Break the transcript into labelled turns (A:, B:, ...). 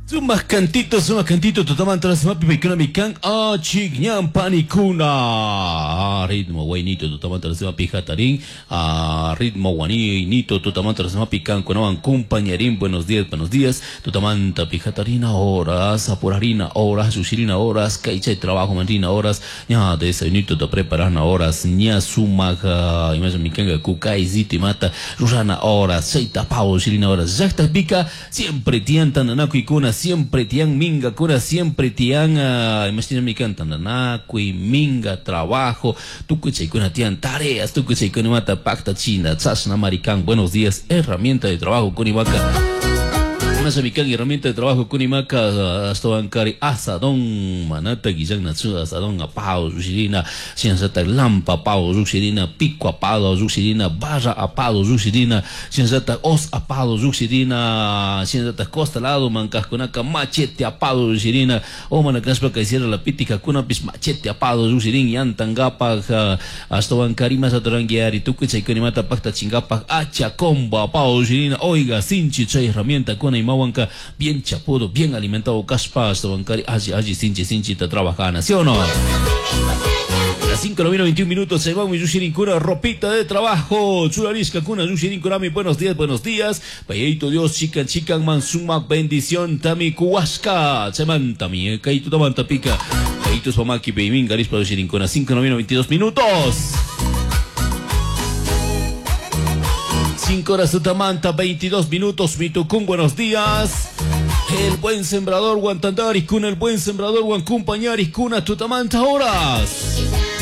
A: Sumak cantito, sumak cantito, tutamanta sumapi paykuna kan achik ñan panikuna. Ah, ritmo waynito tutamanta sumapi hatarin. Ah, ritmo wanito tutamanta sumapi kankunawan compañerín. Buenos días, buenos días. Tutamanta pijatarina horas, apurarina horas, yushirina horas, kaychay trabajo manrina horas, ña desayunito te preparana horas, ña sumak imasha mikanga kukay ziti mata rurana horas, chayta pavo shirina horas. Llaqta pika siempre tiyan tantanakuykuna, siempre tiyan mingakuna, siempre tiyan imashina mikan tantanakuy, minga, trabajo, tukuy chaykuna tiyan tareas, tukuy chaykuna mata pactachina, chashna marikan. Buenos días, herramienta de trabajo kunimaka. Imasha mikan herramienta de trabajo kunimaka ashtawankari asadón manata guillan natsu asadón apado llushirina shinallata lampa apado llushirina pico apado llushirina barra apado llushirina shinallata os apado llushirina shinallata costa lado mankajkunaka machete apado llushirina o mana kashpaka hiciera la pitikakkunapis machete apado llushirin yantankapaj ashtawankari imashata tukuy chaykunimata paktachinkapak hacha combo apado llushirina. Oiga, sinchi chay herramienta kuna imawanka bien chapudo, bien alimentado kashpa ashtawankari alli alli sinchi sinchita trabajana, ¿sí o no? Las 5 de la 21 minutos se va mi Yushirinkura, ropita de trabajo. Churarishka kuna Yushirinkura, buenos días, buenos días. Payito Dios, chican, chican, man, suma bendición, tami kuwaska. Semanta mi, kaito tamanta pica. Kaito spamaki, peimin, garispa Yushirinkura, 5 de la 22 minutos. 5 horas de Tamanta, 22 minutos, Mitucún, buenos días. El buen sembrador Guantandaris, con el buen sembrador Guancumpañaris, cuna Tutamanta horas.